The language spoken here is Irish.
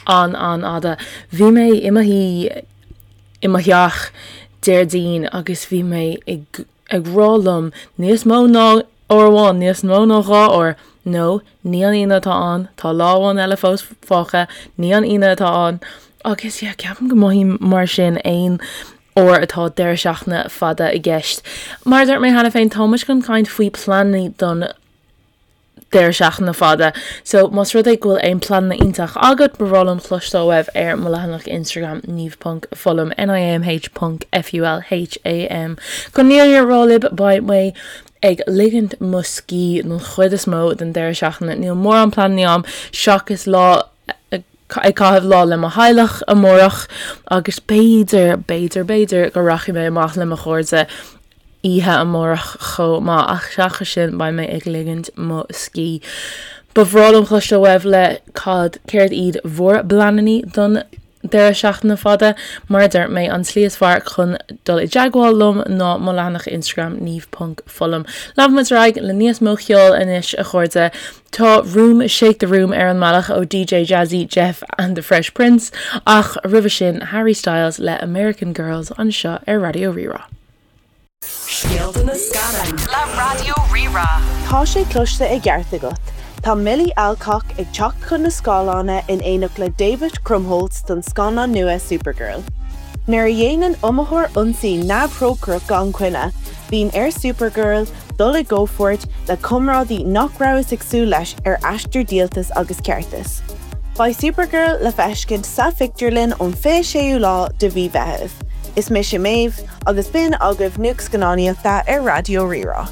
An-an-fhada. Bhí mé i mo shuí i mo theach Déardaoin agus bhí mé ag ag rá liom níos mó ná uair amháin, níos mó ná 2 uair, no, ní an Aoine atá ann, tá lá amháin eile fós fágtha, ní an Aoine atá ann. Agus yeah, ceapaim go mothaím mar sin aon uair atá deireadh seachtaine fada i gceist. Mar a dúirt mé cheana féin, tá muid chun caint faoi pleananna don deireadh seachtaine fada. So más rud é go bhfuil aon pleananna iontach agat, ba bhreá liom cloisteáil uaibh ar mo leathanach Instagram niamh ponc fulham, N-I-A-M-H ponc F-U-L-H-A-M. Chun an fhírinne a rá libh, beidh mé ag ligint mo scíth don chuid is mó den deireadh seachtaine. Níl mórán pleananna agam seachas lá ag caitheamh lá le mo theaghlach amárach agus b'fhéidir, b'fhéidir, b'fhéidir go rachaidh mé amach le mo chairde oíche amárach chomh maith ach seachas sin beidh mé ag ligint mo scíth. Ba bhreá liom cloisteáil uaibh le cad, céard iad bhur bpleananna don deireadh seachtaine fada? Mar a dúirt mé, an tslí is fearr chun dul i dteagmháil liom ná mo leathanach Instagram niamh ponc fulham. Leanfaidh muid ar aghaidh le níos mó ceoil anois a chairde. Tá Room Shake the Room ar an mbealach ó DJ Jazzy Jeff and the Fresh Prince ach roimhe sin Harry Styles le American Girls anseo ar Raidió Rí-Rá. Scéalta na Scannán le Raidió Rí-Rá. Tá sé cloiste i gceart agat. Tá Milly Alcock ag teacht chun na scáileána in éineacht le David Krumholtz don scannán nua Supergirl. Nuair a dhéanann iomaitheoir ionsaí neamhthrócaireach gan choinne, bíonn ar Supergirl dul i gcomhpháirt le comrádaí nach rabhthas ag súil leis ar aistear díoltais agus ceartais. Beidh Supergirl le feiscint sa phictiúrlann ón 26ú lá de mhí Mheithimh. Is mise Méabh, agus b'in agaibh Nuacht Scannánaíochta ar Raidió Rí-Rá.